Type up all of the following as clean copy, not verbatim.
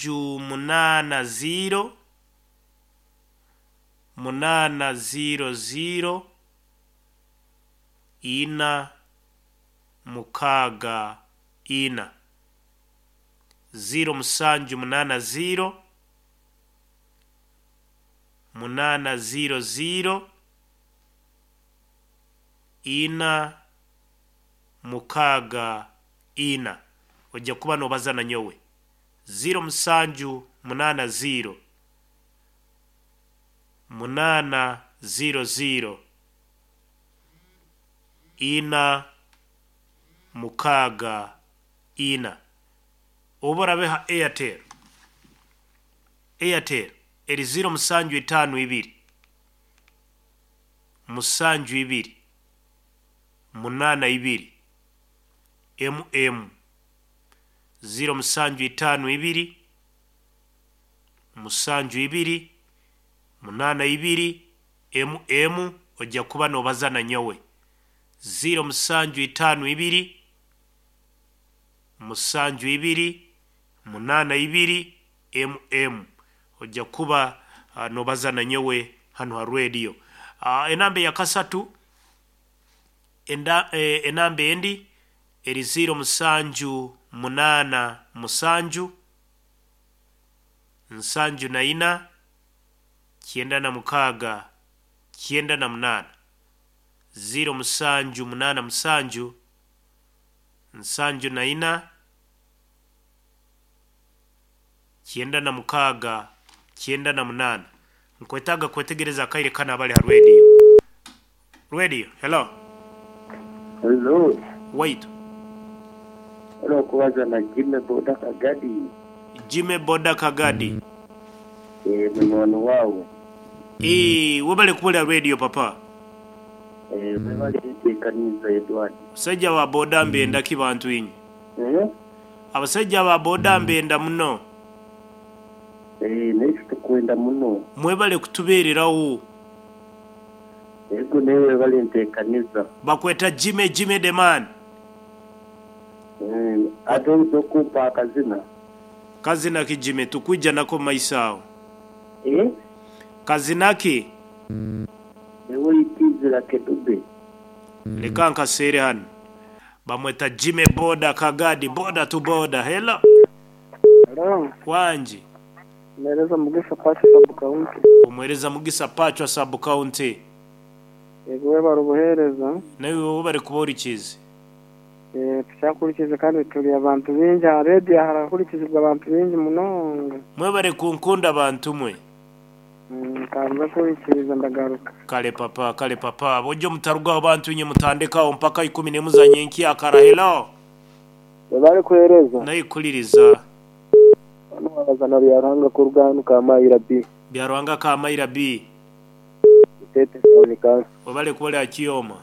Munaana ziiro, munaana ziiro ziiro, ina, mukaaga, ina. Ziiro musanju munaana ziiro, munaana ziiro ziiro, ina, mukaaga, ina. Ojja kuba noobaza na nyowe. Ziiro musanju munaana ziiro, munaana ziiro ziiro, ina, mukaaga, ina. Obu orabe ha Airtel, Airtel eri ziiro musanju itaano ibiri, musanju ibiri, munaana ibiri, emu emu. Ziiro musanju itaano ibiri, musanju ibiri, munaana ibiri, emu emu, ojja kuba noobaza na nyowe. Ziiro musanju itaano ibiri, musanju ibiri, munaana ibiri, emu emu. Ojja kuba noobaza na nyowe hanu ha radio. Enamba eya kasatu, enda, enamba endi eri ziiro musanju munaana musanju, nsanju na ina, kyenda na mukaaga, kyenda na munaana. Ziiro musanju munaana musanju, nsanju na ina, kyenda na mukaaga, kyenda na munaana. Nkwetaaga kwetegereza akaire kanu abali ha radio. Radio, hello. Hello. Waitu. Hello, kubaza na Jimmy Boda Kagadi. Jimmy Boda Kagadi. Eh, munywani wawe. Eh, webale kuwulira radio papa. Eh, webale nteekaniza Edward. Abasajja ba boda mbenda ki bantu inywe? Eh? Abasajja ba boda mbenda muno. Eh, naitwe tukwenda muno. Mwebale kutubeererawo. Ego nawe webale nteekaniza. Bakweta Jimmy Jimmy the man. Eh, ate oyinza okumpa akazina? Kazina ki Jimmy tukwija nako mu maiso aho. Eh? Kazina ki? Ewe oikizira Kedube. Leka nkaseere hanu. Bamweta Jimmy Boda Kagadi, boda to boda. Hello. Hello. Wangi. Mwereza Mugisa Pacho sub county. Omwereza Mugisa Pacho sub county. Yego webare obuheereza. Naiwe webare kuba ohurikiize. Eh, tukyakurikiize kandi turi abantu baingi aha radio harakurikizibwa abantu baingi munonga. Mwebare kunkunda bantu mwe. Kanze kuhurikiza ndagaruka. Kale papa, kale papa. Bwojja mutarugaho bantu inye mutandekaho mpaka ikumi n'emu za nyenkyakara. Hello. Webare kuheereza. Naikuliriza. Hanu wabaza na Byaruhanga kuruga hanu Kamayira B. Byaruhanga Kamayira B. Itete Town Council. Webale kuba ori aha Kioma.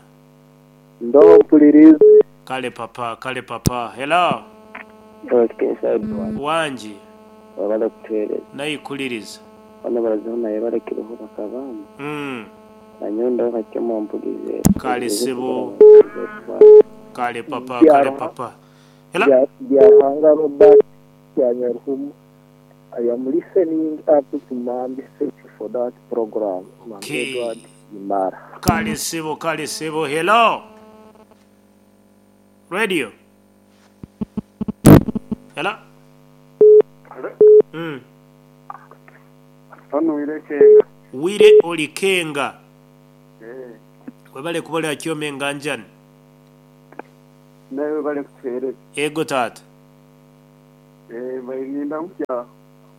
Ndoho mpuliriize. Kale papa, kale papa. Hello. Otikensa Edward. Wangi. Webale kutuheereza. Naikuliriza. Boona barazaho naye barekireho bakabamba. Nanyowe ndoho Kakyoma mpurize. Kale sebo. Kale papa, kale papa. Hello. Byaruhanga Robert Kyanyaruhumu. I am listening up to Mambi. Thank you for that program. Mambi Okay. Edward Imara. Kale sebo, kale sebo. Hello. Radio. Hello. Hello. Hano Wire Kenga. Wire Olikenga. Eh. Webale kuba ori aha Kyoma enganjani. Nawe webale kutuheereza. Ego taata. Eh, bayirinda mutya.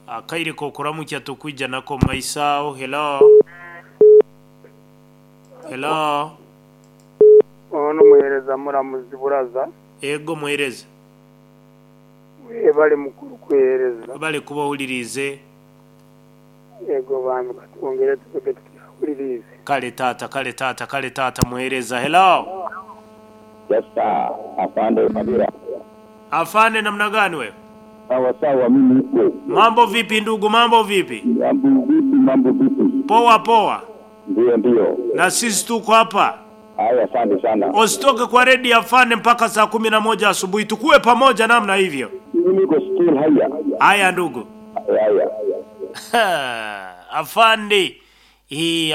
Akaire k'okuramukya tukwija nako omu maiso aho. Hello. Hello. Ono muheereza Muramuzi Buraza. Ego muheereza. Webale mukuru kuheereza. Webale kuba ohuririize. Ego bambi katwongere tuvuge tukyahuririize. Kale taata, kale taata, kale taata muheereza. Hello. Yes sir. Afande Kabira. Afande namna gani wewe? Sawa sawa, mimi niko. Mambo vipi ndugu, mambo vipi? Mambo vipi, mambo vipi? Poa poa. Ndio ndio. Na sisi tuko hapa. Haya, asante sana. Usitoke kwa redio afande mpaka saa 11 asubuhi, tukuwe pamoja namna hivyo. Mimi niko still haya. Haya ndugu. Haya. Afande.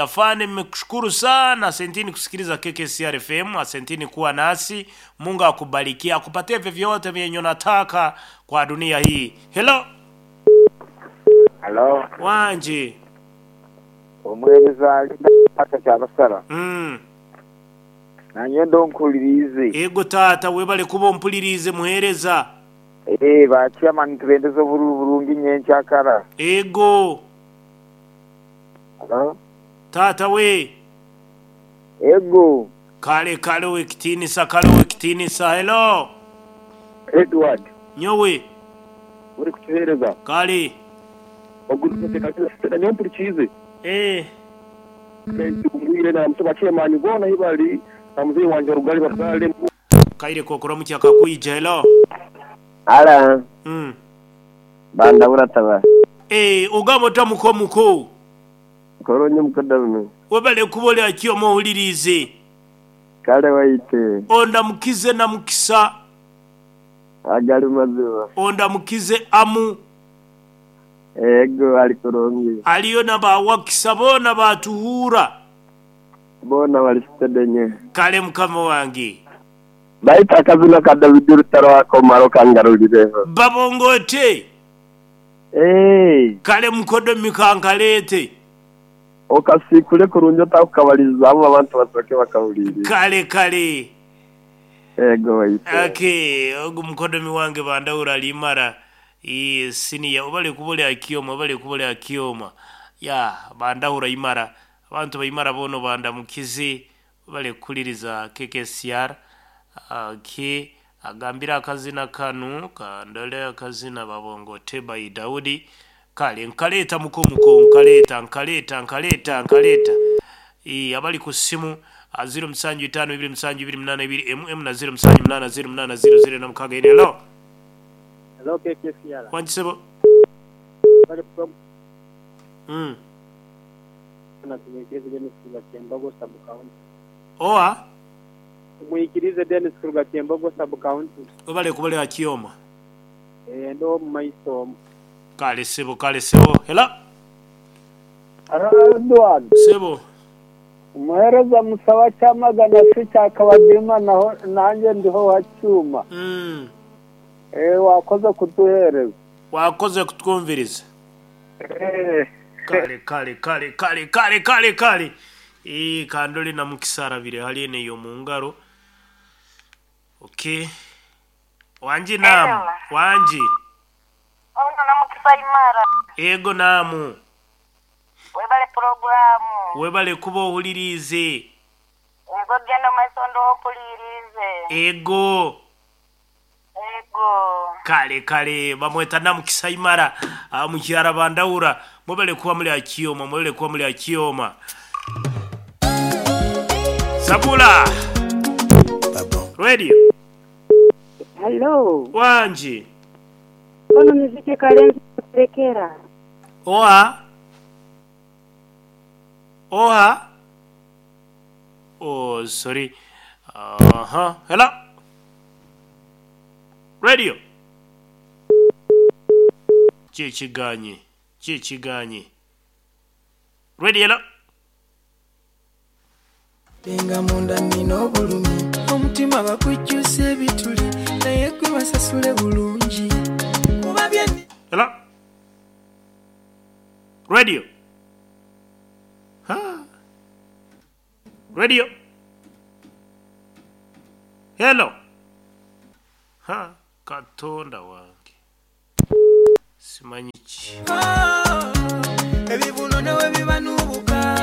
Afande, nimekushukuru sana. Asanteni kusikiliza KKCR FM, asanteni kuwa nasi. Mungu akubarikie, akupatie vyovyote vyenye unataka kwa dunia hii. Hello. Halo, Wanje. omuweereza alina pata kyabasara. Nanye ndonkulirize. Ego tata webale kuba ompulirize muhereza. Eh, ba chairman tubendeza obululu bulungi nyenkyakara. Ego. Halo? Tata we. Ego. Kale kale wekitinisa kale wekitinisa. Hello. Edward. Nyowe. Uri kutuhereza. Kale. Oguruteka nyompurikize. Eh. Mbwire na musaba chairman bona hibali na mzee wanje rugali bakale. Kaire kokora mukyaka kakwija. Hello. Ala. Banda urataba. Eh, ogamba otamuko muko. Koronye mukodarume. Webale kuba akyo muwulirize. Kale waite. Ondamukize na mukisa. Agali mazima. Ondamukize amu. Ego ali kurungi. Aliyo na bawakisa bona batuhura. Bona walisitedenye. Kale mukama wange. Baita akazina ka David Rutaro wako maro kangarulireho. Babongote. Eh. Kale mukodo mikankalete. Okasikule kurungi otakukabaliza abo abantu basoke bakawuliriza. Kale kale. Ego waite. Okay, ogu mukodomi wange bandawura limara. Siniya obale kubole akioma obale kubole akioma. Ya bandawura imara. Abantu baimara bono bandamukize bale kuliriza KKCR. Okay, agambira akazina kanu kandole akazina babongote by Daudi. Kale nkaleta mukomuko nkaleta nkaleta nkaleta nkaleta. Abali ku simu 075 272 MM na 078 0800 na mukaga ine. Hello. Hello KKCR. Wanjisebo. Bali Na tumwikirize Dennis Kuruga Kyembogo sub county. Oa? Tumwikirize Dennis Kuruga Kyembogo sub county. Obale kubale akioma. Eh, ndo maiso. Kale sebo kale sebo. Hello. Edward. Sebo. Umuhereza musaba cyamagana se cyakabadima naho nanjye ndiho wa cyuma. Wakoze kuduhereza. Wakoze kutwumviriza. Kale kale kale kale kale kale kale. Kandoli na mukisara bire hali ene yo mungaro. Okay. Wanji namu. Wanji. Ono na mukisa imara. Ego namu. Webale programu. Webale kuba ohulirize. Ego genda maisondo okulirize. Ego. Ego. Kale kale bamweta namukisa imara mukyara bandawura mubale kuba muli akioma mubale kuba muli akioma. Sabula. Radio. Hello. Wanji. Ono muziki kalenzi kurekera. Oa. Oha. Oh, sorry. Aha. Hello. Radio. Chichiganye. Chichiganye. Radio. Hello. Benga munda nina obulumi omutima bakujjusa ebituli naye gwe basasule bulungi kuba bye. Hello. Radio. Ha. Radio. Hello. Ha, katonda wange. Simanyi ki. Ebibuno newe bibanubuka.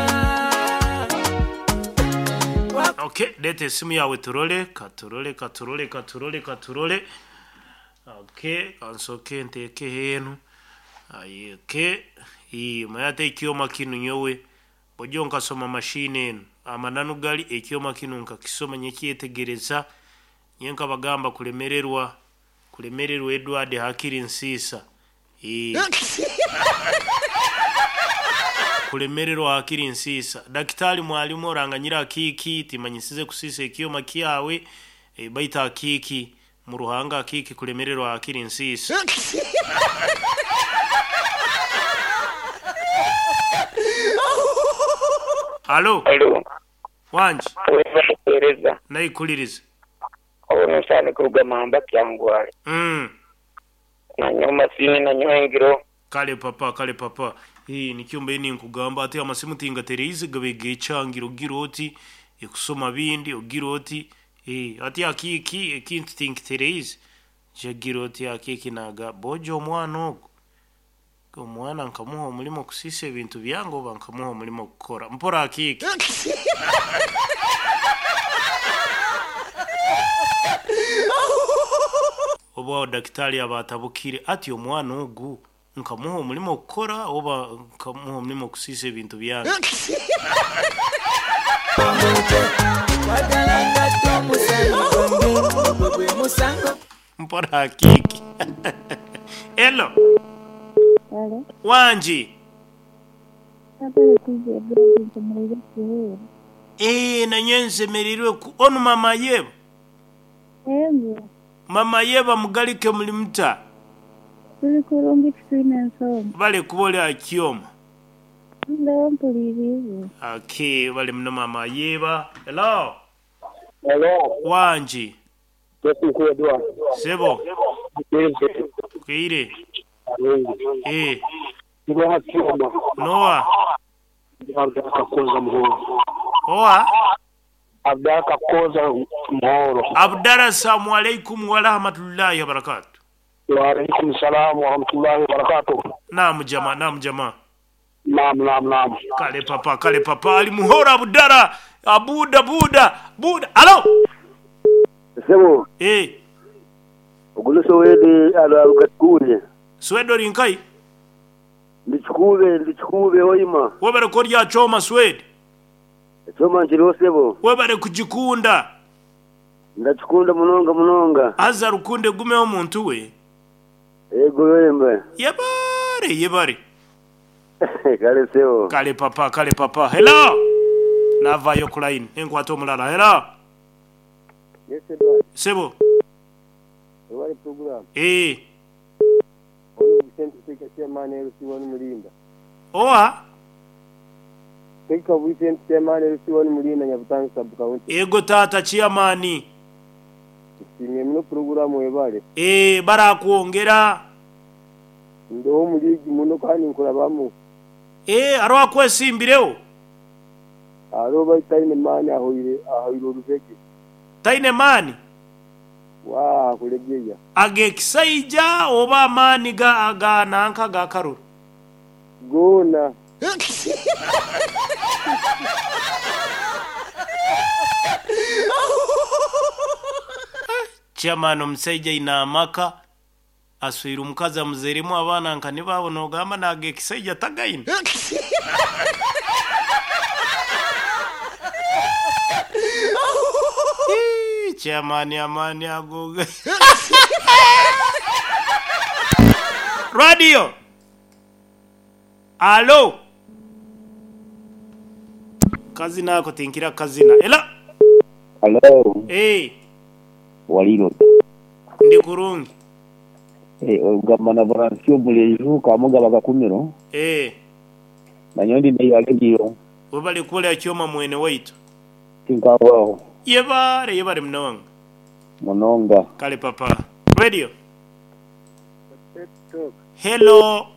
Okay, leta esimu yawe turole, katurole, katurole, katurole, katurole. Okay, kansoke nteeke henu. Okay. Mayate ekyoma kinu nyowe. Bojjo nkasoma mashine eno. Amananu gali ekyoma kinu nkakisoma nyekyetegereza. Nye nkabagamba kulemererwa. Kulemererwa Edward hakiri nsiisa. Kulemererwa hakiri nsiisa. Daktari mwalimu oranganyira akiki timanyisize kusisa ekyoma kyawe baita akiki mu ruhanga akiki kulemererwa hakiri nsiisa. Alo. Alo. Wangi. Webale kuwereza. Naikuliriza. Ono nsaani kuruga Mamba Kyangwali. Nanyowe masiini nanyowe engiro. Kale papa kale papa. Hii nikyo mbaire ninkugamba ati amasimu tingatereize gabe gekyangire ogira oti ekusoma bindi ogira oti eh, ati akiiki ekintu tinkitereize jagira oti akiiki naga bojo omwana ogu omwana nkamuha omurimo kusiisa ebintu byange oba nkamuha omurimo kukora mpora akiiki. Obu aho dakitari aba atabukire ati omwana ogu nkamuha omurimo kukora oba nkamuha omurimo kusiisa ebintu byange. Mpora akiiki. Hello. Halo. Wangi. Nabere kwija ebirungi nsemereire kuhurra. Eh, nanye nsemereirwe ku onu mama Yeba. Ego. Mama Yeba mugalike muli muta? Tuli kurungi titwine ensonga. Bale kuba oli aha kyoma. Ndoho mpuliriize. Okay, bale muno mama Yeba. Hello. Hello. Wangi. Edward. Sebo. Kwire. Eh. Noa Kyoma. Noa. Abdaka Koza Muhoro. Oa. Abdaka Koza Muhoro. Abdala assalamu alaikum wa rahmatullahi wa barakatuh. Wa alaikum salam wa rahmatullahi wa barakatuh. Naam jama, naam jama. Naam, naam, naam. Kale papa, kale papa ali Muhoro Abdala. Abuda buda buda. Alo. Sebo. Eh. Ogu Sowedi aruga Kikube. Swedi ori nkahi? Ndi Kikube, ndi Kikube Hoima. Webare kurya kyoma Swedi. Ekyoma nkiriho sebo. Webare kugikunda. Ndakikunda munonga munonga. Haza rukundo egumeho muntu we. Ego wembe. Yebare yebare. Kale sebo. Kale papa, kale papa. Hello. Navayo ku line. Enkwata omulala. Hello. Yes, Edward. Sebo. Webale program. Eh. Ono Vicente Seka Chairman LC1 Mulinda. Owa. Seka Vicente Chairman LC1 Mulinda Nyabutangi sub county. Ego tata chairman. Tusiimye muno program webale. Eh, barakwongera. Ndoho omu league muno kandi nkurabamu. Eh, hariho akwesimbireho? Hariho baitu taine maani ahoire ahoire orubege. Taine maani? Waa kuregeya. Ag'ekisaija oba amaani ga ga nanka ga karuru? Goona. Chairman omusaija aine amaka, aswire omukazi amuzairemu abaana nka nibo nogamba n'ag'ekisaija tagaine. Ii, Chairman amaani ago. Radio. Alo. Kazina ako tinkira kazina. Ela. Hello. Eh, Waliro. ndi kurungi. Eh, ogamba na Francio Muleju Kamuga Bakakumiro. Eh, Nanyowe ndi ya radio. webale kubolera kyoma mwene waitu. Tinkawaho. Yebare yebare munonga. Munonga. Kale papa. Radio. Hello.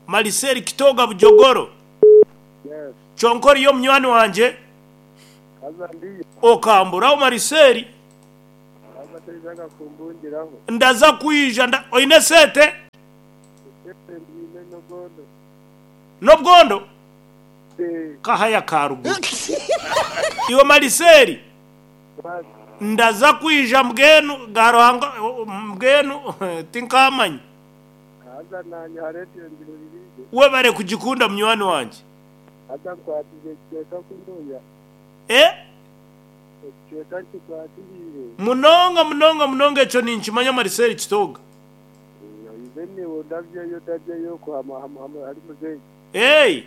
Maliseri Kitoga Bujogoro. Yes. Chonkori yo munywani wangye. Kaza ndiyo. Okamburaho Mariseri. Kaza teizaga kumbungiraho. Ndaza kwija nda oine sente? Sente ndine nogondo. Nobwondo? Eh. Kahaya karuguru. Iwe Mariseri. Ndaza kwija mbwenu garuhanga mbwenu tinkamanya. Kaza nanye ha radio ndihuririze. Webare kugikunda munywani wangye. Kaza nkwatize ekicweka kunuya. Eh? Ekicweka nkikwatiriire. Munonga munonga munonga ekyo ninkimanya Mariseri Kitoga. Oize niiwe ndabyeyo ndabyeyo kuhama hari muzeeyi. Hey!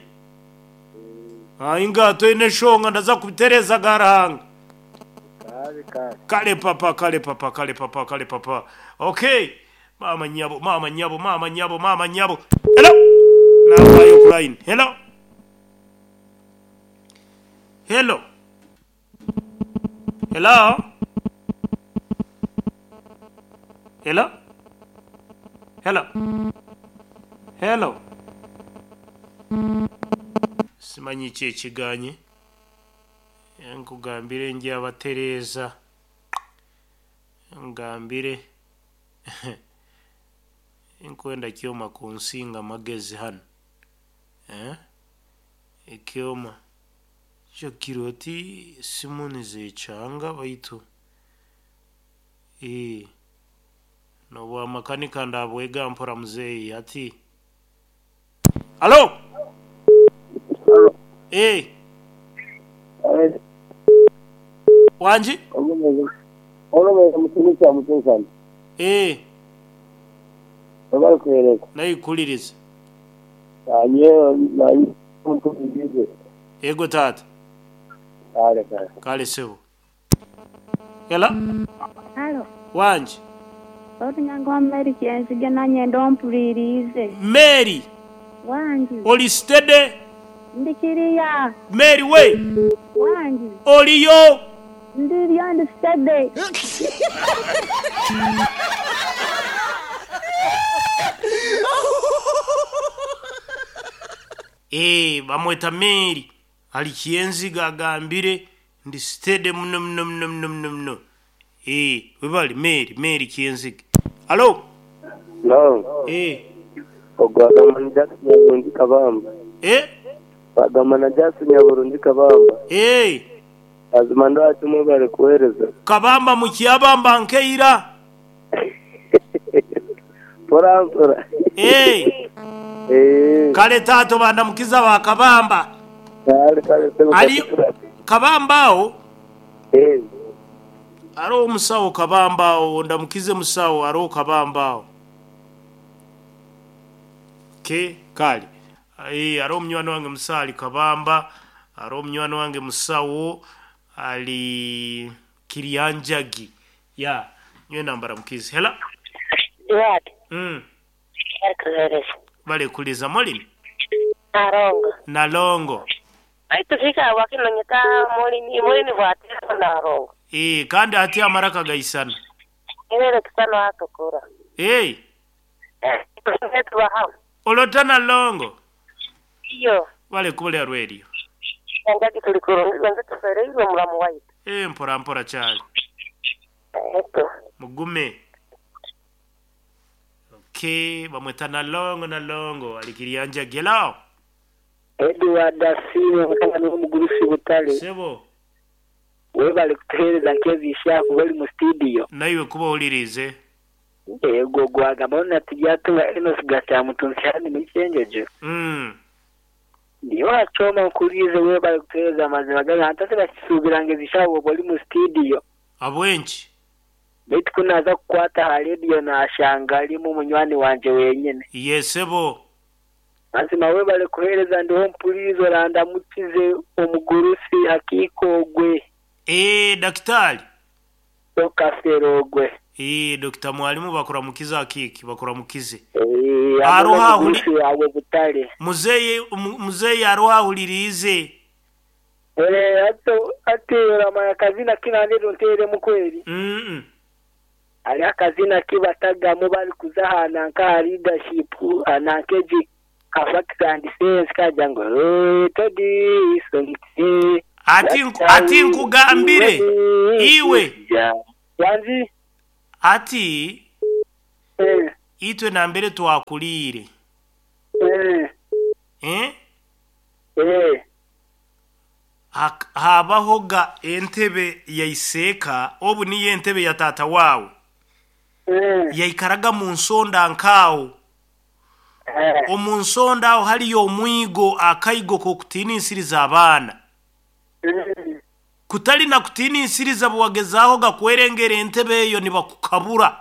Ainga toine shonga ndaza kubitereza garahanga. Kale kale. Kale papa kale papa kale papa kale papa. Okay. Mama nyabo mama nyabo mama nyabo mama nyabo. Hello. Navayo ku line. Hello. Hello. Hello. Hello. Hello. Hello. Simanyi ki ekiganye. Nkugambire njabatereeza. Ngambire. Nkwenda kyoma kunsinga magezi hanu. Eh? Ekyoma. Kyo oti simu nizekyanga baitu. Eh. Nobwamakanika ndabwega mpora muzeeyi ati. Halo. Eh. Wanji? Olomeza mukimu kya mutunkani. Eh. Webale kuhereza. Nayikuliriza. Nanye nanye mutunkani. Ego taata. Kale kale. Kale sebo. Hello. Halo. Wanji? Otunyango wa Mary Kyenzige nanye ndompulirize. Mary. Wanji. Oli steady? Ndikiriya. Mary we. Wanji. Oliyo. Ndiriyo ndi steady. Eh, bamweta Mary. Ali Kyenziga agambire ndi steady muno muno muno muno muno muno. Eh, webali Mary, Mary Kyenziga. Halo. No. Eh. Ogwagamba na Jackson Nyaburungi Kabamba. Eh? Bagamba na Jackson Nyaburungi Kabamba. Eh. Azima ndwaki mwebale kuhereza. Kabamba mukyabamba nkeira. Mpora mpora. Eh. Eh. Kale tato bandamukiza wa Kabamba. Kale kale sebo. Ali Kabamba awo. Eh. Aro omusawo Kabamba awo ndamukize musawo aro Kabamba awo. Ke kale. Eh aro omunywani wange musawo ali Kabamba, aro omunywani wange musawo ali Kirianjagi. Ya, nywe nambara mukizi. Hela. Duarte. Kuhereza. Bale kuliza molini. Narongo. Nalongo. Aitufika wakinonyeka molini molini bwatira narongo. Eh kandi ati amaraka gaisana. Ibere kisano atukura. Eh. Eh, tubaha. Olota nalongo. Iyo. Bale kubule radio. Ndaki tulikuru nze tufereirwe mulamu waitu. Eh mpora mpora cyane. Eto. Mugume. Okay, bamweta nalongo nalongo alikirianja gelao. Edward Asiimwe mutabani w'omugurusi Butale. Sebo. Webale kutuheereza nk'ebiisha kuba oli mu studio. Naiwe kuba owulirize. Ego gwagamba ona tujyatunga Enos Gatamutunsi hano muri Kyenjojo. Ndiyo wachoma nkulize webale kutuheereza amazima gaga ntase bakisuubira ng'ezisha oba oli mu studio. Abwenki. Baitu kunaza kukwata ha radio nashanga alimu munywani wanje wenyene. Yesebo. Mazima webale kuheereza ndiho mpulirizo randamukize omugurusi akiikogwe. Eh daktari. Okaferogwe. Eh Dr. Mwalimu bakuramukiza akiki bakuramukize. Eh aroha huli awe Butale. Muzeyi muzeyi aroha hulirize. Eh ato ati ramaya kazina kinaniro ntere mukweri. Ali akazina kibatagamu bali kuzahana nka leadership anankeji facts and sense kaja ngo todi sonti ati nkugambire iwe wanzi ati itwe nambere twakulire habahoga entebe yaiseka obu niyo entebe ya tata wawe yaikaraga mu nsonda nkawo. Omu nsonda aho haliyo omwigo akaigo kokutiinisiriza abaana. Kutali na kutiinisiriza bwagezaaho gakwerengera entebe eyo nibakukabura.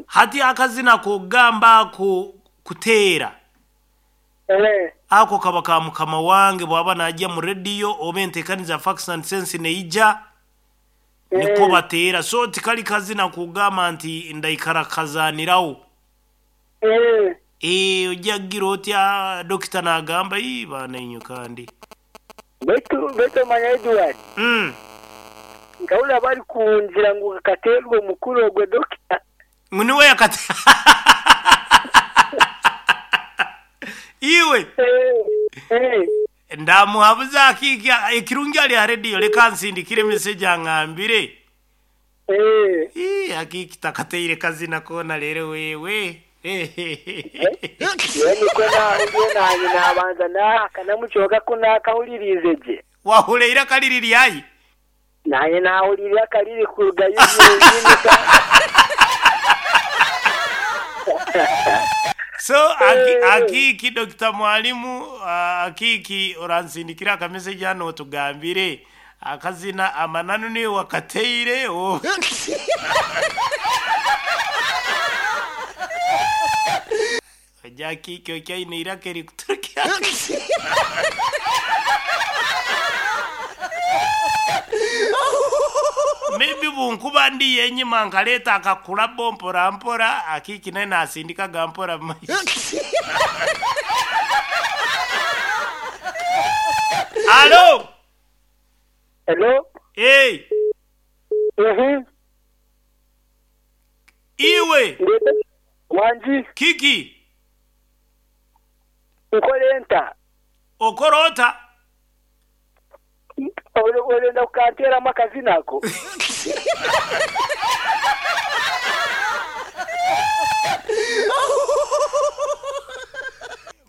Hati akazina kogamba ako kuteera. Ako kaba ka mukama wange bwaba najja mu radio oba enteekaniza facts and sense neija niko bateera. So tikali kazina kugamba nti ndaikara kazanirawo. Ojja kugira otya dokita n'agamba ii baana inyo kandi. Beitu beitu omanya Edward. Mm. Nkahurira bari kungira ngu kakateerwa omukuru ogwe dokita. Ngu niwe yakate Iwe. Ndamuhabuza akiiki ekirungi ari aha rediyo reka ansindikire message angambire. Ii akiiki takateire kazina koona reero wewe. Nyowe nikwo naahuriire naanye naabanza naahakanamu kyonka ku naakahuririize gye. Wahurira eiraka riri ryahi? Naanye naahurira eiraka ririkurugayo ryenyini ka. So akiiki Dokita Mwalimu akiiki oransindikire aka message hanu otugambire akazina amananu niiwe wakateire oba. Ogira akiiki okyo aine eiraka erikuturukya Maybe bunkuba ndiyo enyima nkareeta akakurabo mpora mpora, akiiki nawe nasindikaga mpora mumaisho. Alo! Hello? Hey! Iwe! Wangi. Kiki? Nkore nta? Okore ota? Orenda kukanteeramu akazina ako?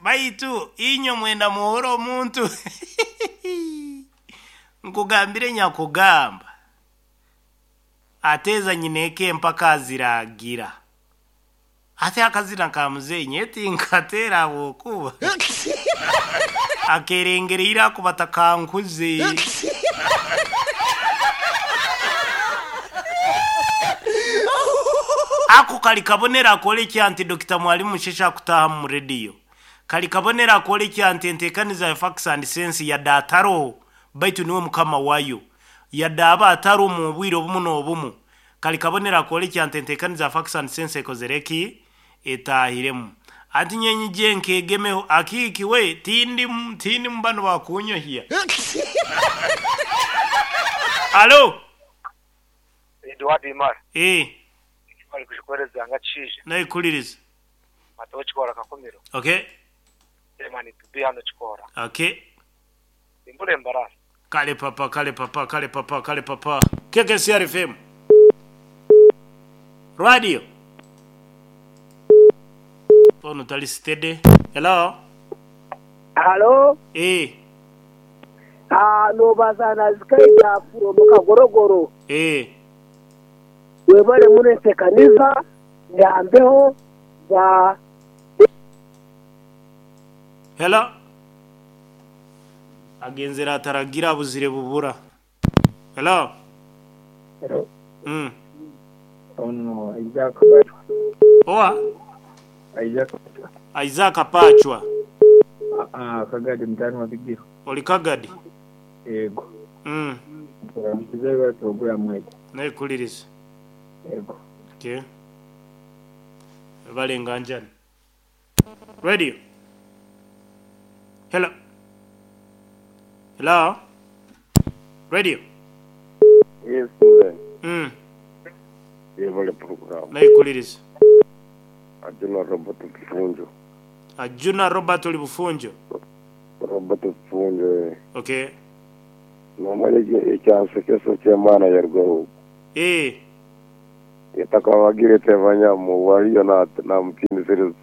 Baitu inywe mwenda muhore omuntu. Nkugambire nyakugamba. Ateeza nyineeka empaka aziragira. Ati akazina ka muzeeyi nyowe tinkateera ahabw'okuba akeerengereire ahakuba takankuze. Ako kari kabonero akorekya nti Dokita Mwalimu Musheshe akutaaha omu rediyo. Kari kabonero akorekya nti enteekaniza ya Facts and Sense yade ataroho baitu niwe mukama wayo. Yade aba atarimu obwire obumu n'obumu, kari kabonero akorekya nti enteekaniza ya Facts and Sense ekozire ki? Etaahiremu. Anti nyowe nyije nkeegemeho, akiiki we tindimu, tindimu banu bakunyohya. Alo! Edward Imara. Ee. Bari kujikwereza nga kishaija. Nahikuririza. Mataho Kikoora Kakumiro. Okay. Chairman to be hano Kikoora. Okay. Nimbura embarasi. Kale papa, kale papa, kale papa, kale papa. KKCR FM. Radio. Onu tali steady. Hello. Halo. Eh. Ah, nobaza na Zikaida from Kagorogoro. Eh. Webale muno entekaniza yambeho za. Hello. Agenzere ataragira abuzire bubura. Hello. Hello. Ono Isaac Pachwa. Owa? Isaac Pachwa. Isaac Pachwa. Ah, Kagadi mutani wa Bigiro. Oli Kagadi? Yego. Turamukiza biba program egi. Nekuliriza. Yego. Okay. Webale nganjani. Radio. Hello. Hello. Radio. Yes, mzee. Yebale program. Naikuliriza. Ajuna Robert Bufunjo. Ajuna Robert oli Bufunjo. Robert Bufunjo. Eh. Okay. Nomanya ekyansekeso ky'emwana yarugaho. Eh. Etakabagire tebanyamu waliyo namutinisiriza.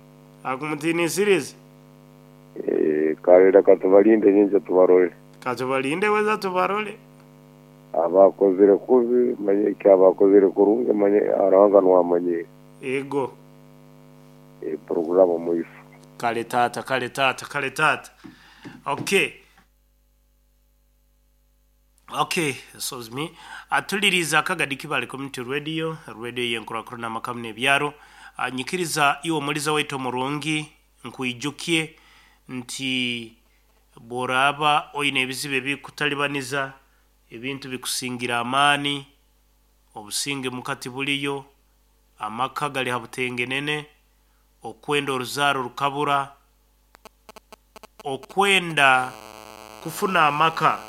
Akumutinisiriza? Eh, kale reka tubalinde nyingi tubarole. Katubalinde weza tubarole. Abakozire kubi manye ki abakozire kurungi manye aranga nwamanye. Ego. E programu muifu. Kale tata, kale tata, kale tata. Okay. Okay, soz me. Atuliriza Kagadi Kibale Community Radio, radio yenkurakurana makamu n'ebyaro. Nyikiriza iwe omuliza waitu omurungi nkwijukie nti bworaba oine ebizibu ebikutalibaniza, ebintu bikusingira amaani, obusinge mukati buliyo, amaka gari ha butengenene, okwenda oruzaaro rukabura, okwenda kufuna amaka,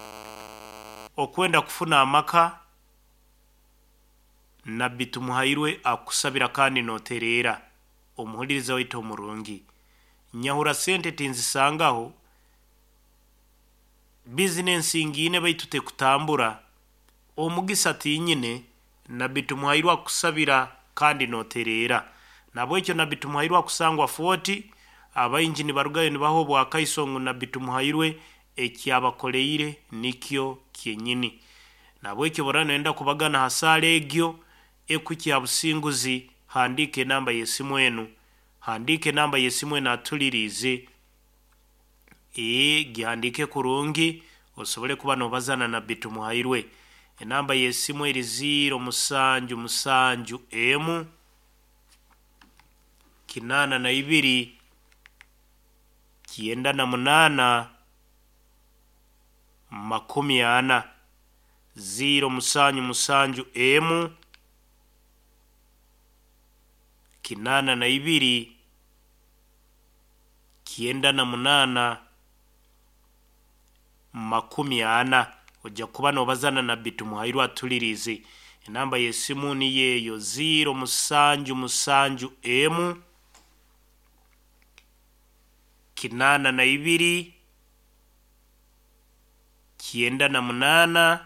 okwenda kufuna amaka, Nabbi Tumuhairwe akukusabira kandi notereera. Omuhuliriza waitu omurungi. Nyahura sente tinzisangaho, bizinensi ngiine baitu tekutambura, omugisa tinyine, Nabbi Tumuhairwe akukusabira kandi notereera. Nabwekyo Nabbi Tumuhairwe akusangwa Fort, abaingi nibarugayo nibaha obwakaiso ngu Nabbi Tumuhairwe ekyabakoleire nikyo kyenyini. Nabwekyo obu oraba noyenda kubagana ha saara egyo ekuhikya ha businguzi, handiika enamba y'esimu enu. Handiika enamba y'esimu enu atuliriize. Ee, gihandiike kurungi osobole kuba nobaza na Nabbi Tumuhairwe. Enamba y'esimu eri ziiro musanju musanju emu, kinaana na ibiri, kyenda na munaana, makumi ana. Ziiro musanju musanju emu, kinaana na ibiri, 98 40. Oja kuba nobaza na Nabbi Tumuhairwe atuliriize. Enamba y'esimu niyo eyo, ziiro musanju musanju emu, 82 98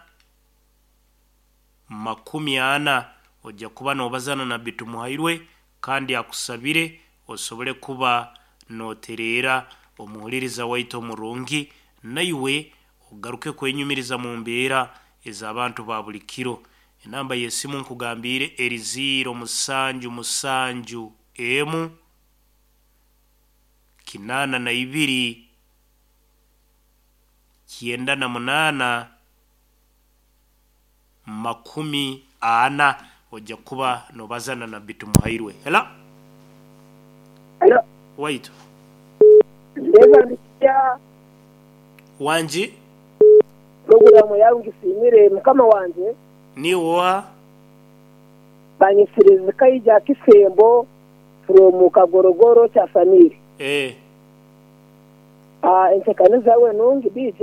40. Oja kuba nobaza na Nabbi Tumuhairwe kandi akusabire osobole kuba notereera omuhuliriza waitu omurungi naiwe ogaruke kwenyumiriza mu mbeera ez'abantu ba buli kiro. Enamba y'esimu nkugambiire eri ziiro musanju musanju emu, 82 98 40. Oja kuba nobaza na Nabbi Tumuhairwe. Hello. Hello. Waitu. Ndeeba ndikya. Wangi. Puroguraamu yaawe ngisiimire mukama wangye. Niiwe oha? Banyetsire Zikaija Kisembo from Kagorogoro Kyasamire. Eeh. Ah entekaniza yawe nungi DJ.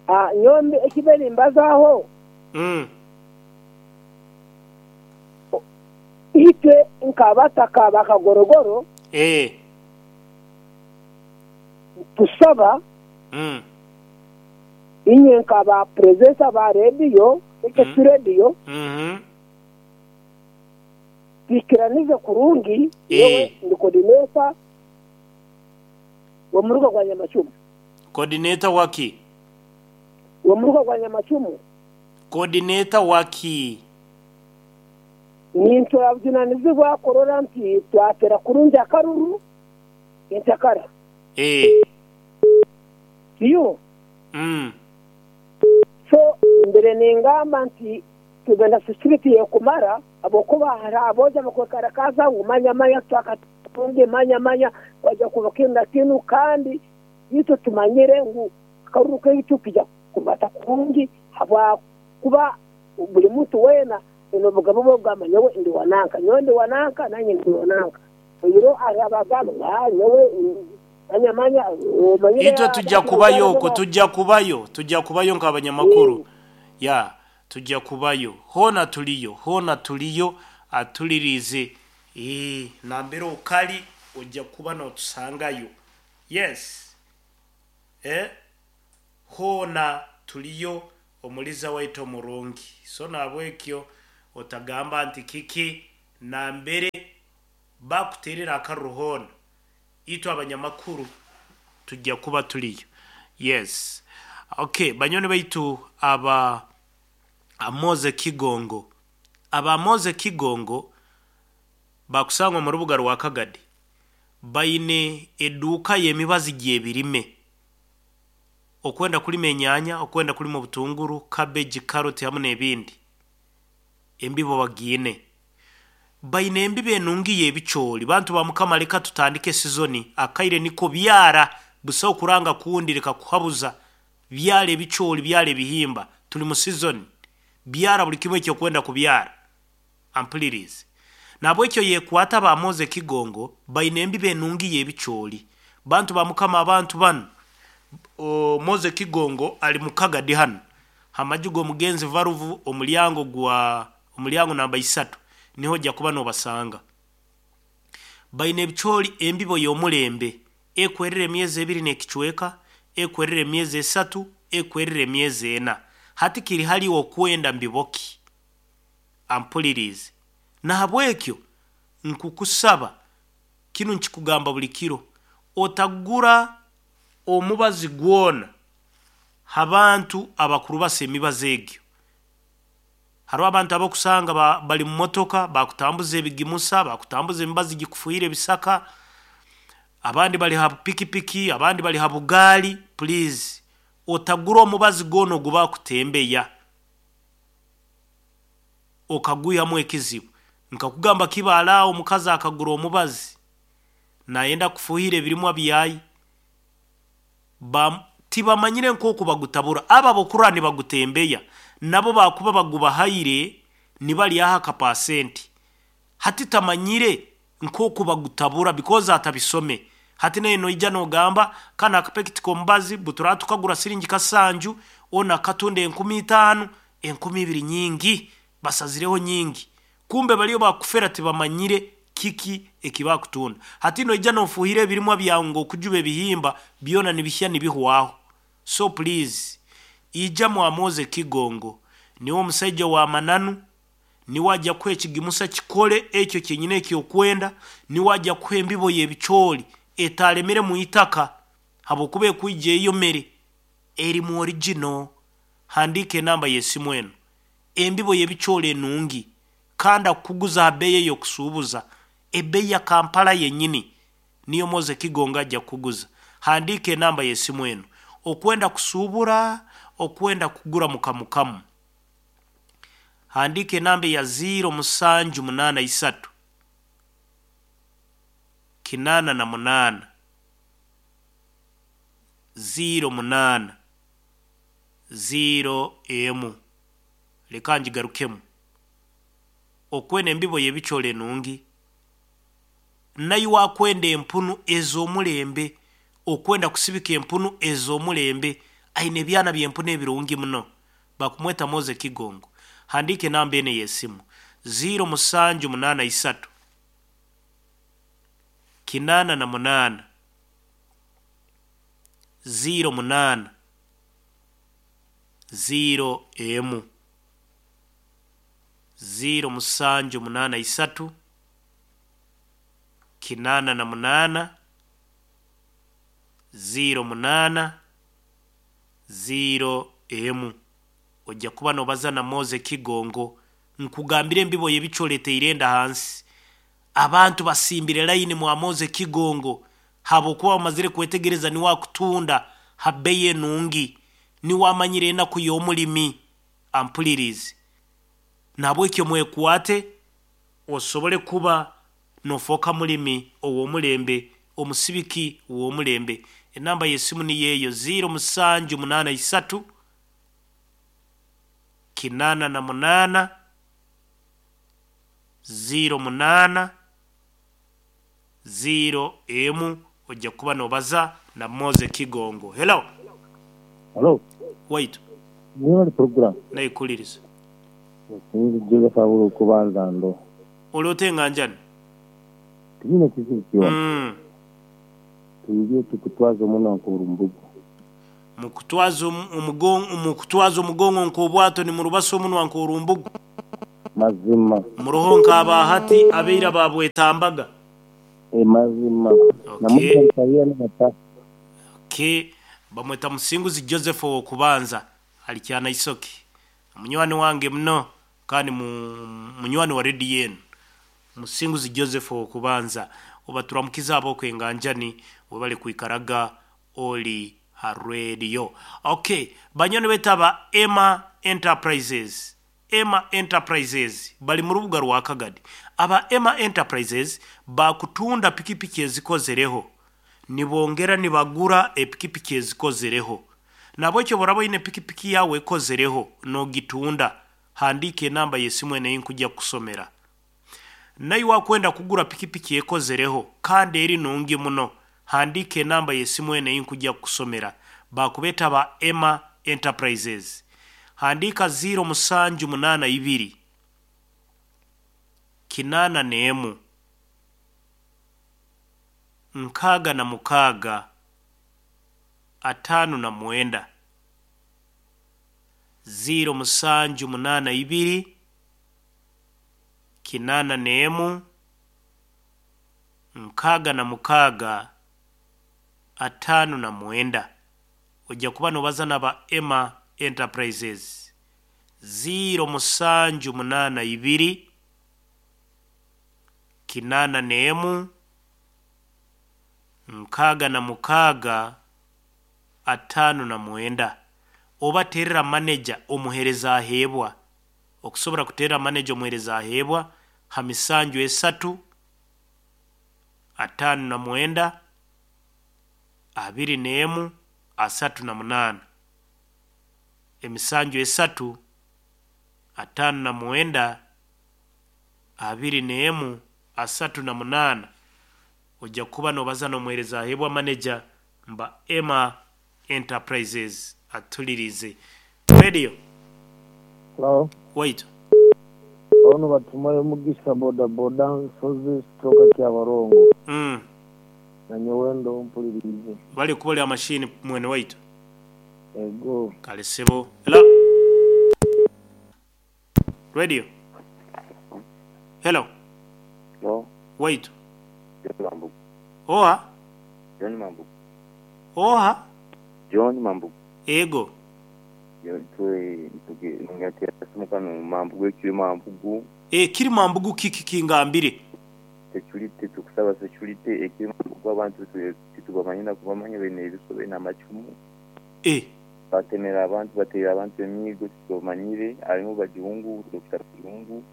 Ah nyowe ekibe nimbazaaho. Itwe nk'abataka ba Kagorogoro nitusaba inywe nka ba purezenta ba rediyo, KKC Radio, twikiranize kurungi, nyowe ndi kodineta w'omuruka gwa Nyamacumu. Kodineta waki? W'omuruka gwa Nyamacumu. Kodineta waki? Nitwabujunanizibwa kurora nti twatera kurungi akaruru entakara. Eeh. Tiyo? So mbere ningamba nti tube na security ekumara habwokuba hariho aboojo abakwekarakaasa ngu manya manya twakatunga manya manya kwaija kuba kinu na kinu kandi itwe tumanyire ngu akaruru kaitu kija kubata kurungi habwakuba buli muntu weena aine obugabe bw'okugamba nyowe ndi wa nanka, nyowe ndi wa nanka, nanye ndi wa nanka. Oihireho hariho abagamba ngu aa nyowe manya manya omanyire Itwe tujja kubayo okwo, tujja kubayo, tujja kubayo nk'abanyamakuru. Ya, tujja kubayo. Hoona tuliyo, hoona tuliyo, atuliriize. Eeh, nambere okali ojja kuba nootusangayo. Yes. Eh, hoona tuliyo omuliza waitu omurungi. So nahabwekyo otagamba nti kiki nambere bakuterera akaruru hoona, itwe abanyamakuru tujja kuba tuliyo. Yes. Okay, banywani baitu aba Amoze Kigongo. Aba Amoze Kigongo bakusangwa omu rubuga rwa Kagadi baine eduuka y'emibazi gy'ebirime. Okwenda kulima enyaanya, okwenda kulima obutunguru, cabbage, carrot hamu n'ebindi, embibo bagiine. Baine embibo enungi y'ebicooli. Bantu ba Mukama leka tutandike sizoni, akaire niko byara, busaho kuranga kundi leka kuhabuza. Byara ebicooli, byara ebihimba, tuli mu sizoni. Byara buli kimu eki okwenda kubyara. Ampuliriize. Nahabwekyo yekwata ba Moze Kigongo baine embibo enungi y'ebicooli. Bantu ba Mukama abantu banu, Moze Kigongo ali mu Kagadi hanu ha maju g'omugenzi Varuvu omulyango gwa omulyango namba isatu niho ojja kuba nobasanga. Baine ebicoori embibo y'omulembe ekwerera emyezi ebiri n'ekicweka, ekwerera emyezi esatu, ekwerera emyezi ena. Hati kiri hali iwe okwenda mbibo ki? Ampuliriize. Nahabwekyo nkukusaba kinu nkikugamba buli kiro, otagura omubazi gwona ha bantu abakurubasa emibazi egyo. Haroho abantu abokusanga bali mu motoka bakutambuza ebigimusa, bakutambuza emibazi gikufuhira ebisaka, abandi bali ha pikipiki, abandi bali ha bugaali, please otagura omubazi gwona ogu bakutembeya okagwihamu ekizibu. Nkakugamba Kibaale aho omukazi akagura omubazi nayenda kufuhira ebirimwa byaye, ba tibamanyire nk'oku bagutabura. Abo abokurora nibagutembeya nabo bakuba bagubahaire nibaryaho akapasenti. Hati tamanyire nk'oku bagutabura because atabisome. Hati naiwe noija nogamba kanu akapekiti k'omubazi buturaba tukagura siringi kasanju, onu akatunda 5000, 2000 nyingi, basazireho nyingi. Kumbe bariyo bakufera tibamanyire kiki eki bakutunda. Hati noija nofuhira ebirimwa byawe ngu okujuba ebihimba byona nibihya nibihwaho. So please ija mwa Moze Kigongo niwe omusaija wa mananu, niwe aja kuha ekigimusa kikole ekyo kyenyini eki okwenda, niwe aja kuha embibo y'ebicoori etalemire mu itaka habwokuba ekwija eyomere erimu original. Handiika enamba y'esimu enu. Embibo y'ebicoori enungi kandi akukuguza ha beeyi ey'okusuubuza, ebeeyi ya Kampala yenyini niyo Moze Kigongo aja kukuguza. Handiika enamba y'esimu enu. Okwenda kusuubura, okwenda kugura mukamukamu. Handiika enamba eya ziiro musanju munaana isatu, 88, 08, 0 emu. Leka ngigarukemu. Okwenda embibo y'ebicoori enungi, naiwe akwenda empunu ez'omulembe, okwenda kusibika empunu ez'omulembe, aine ebyana by'empunu ebirungi muno. Bakumweta Moze Kigongo. Handiika enamba enu ey'esimu, ziiro musanju munaana isatu, 88, 08, 0 emu. 0783, 88, 08, 0 emu. Ojja kuba nobaza na Moze Kigongo. Nkugambire embibo y'ebicoori eteire enda hansi. Abantu basimbire layini mwa Moze Kigongo habwokuba bamazire kwetegereza niwe akutunda ha beyi enungi. Niwe amanyire enaku y'omulimi. Ampulirize. Nahabwekyo mwekwate osobole kuba nofooka mulimi ow'omulembe, omusibiki w'omulembe. Enamba y'esimu niyo eyo, 0783, 88, 08, 0 emu. Ojja kuba nobaza na Moze Kigongo. Hello. Hello. Waitu. Mwebale program. Naikuliriza. Sinzi Joseph Abura okubanza ndo. Oli ota enganjani? Tinyine kizibu kyona. Twije tukutwaze omunwa nk'orumbugu. Mukutwaze mukutwaze omugongo nk'obwato nimurubasa omunwa nk'orumbugu. Mazima. Muroho nk'aba hati abaira babwetambaga. Mazima. Okay. Okay. Bamweta Musinguzi Joseph ow'okubanza ali Kyanaisoke. Munywani wange muno kandi munywani wa rediyo enu. Musinguzi Joseph ow'okubanza. Obaturamukize ab'oku enganjani webale kwikaraga oli ha rediyo. Okay, banywani baitu aba Emma Enterprises. Emma Enterprises bali mu rubuga rwa Kagadi. Aba Emma Enterprises bakutunda pikipiki ezikozereho nibongera nibagura epikipiki ezikozereho. Nahabwekyo obu oraba oine pikipiki yaawe ekozereho nogitunda, handiika enamba y'esimu enu ei nkugya kukusomera. Naiwe akwenda kugura pikipiki ekozereho kandi eri nungi muno, Handiika enamba y'esimu eno ei nkujja kukusomera. Bakubeeta ba Emma Enterprises. Handiika 0782 81 66 59. 0782 81 66 59. Ojja kuba nobaza naba Emma Enterprises. 0782 81 66 59. Oba terera manager omuhereza aheebwa. Okusobora kuterera manager omuhereza aheebwa ha misanju esatu 59 21 38. Emisanju esatu 59 21 38. Ojja kuba nobaza n'omuhereza aheebwa manager mba Emma Enterprises atulirize. Radio. Hello. Waitu. Ono batumayo Mugisha boda boda nsozi stroke Kyabarongo. Nanyowe ndo mpulirize. Bali kubolya mashini mwene waitu. Ego. Kale sebo. Hello. Radio. Hello. Hello. Waitu. John Mambugu. Oha. John Mambugu. Oha. John Mambugu. Ego. Mambugu ekiri Mambugu. Kiri Mambugu kiki kingambire. Security tukusaba security ekiri Mambugu abantu titubamanya na kubamanya bene ebisobe n'amacumu. Batemera abantu batera abantu emigo titubamanyire harimu Bajungu, Dr. Bajungu.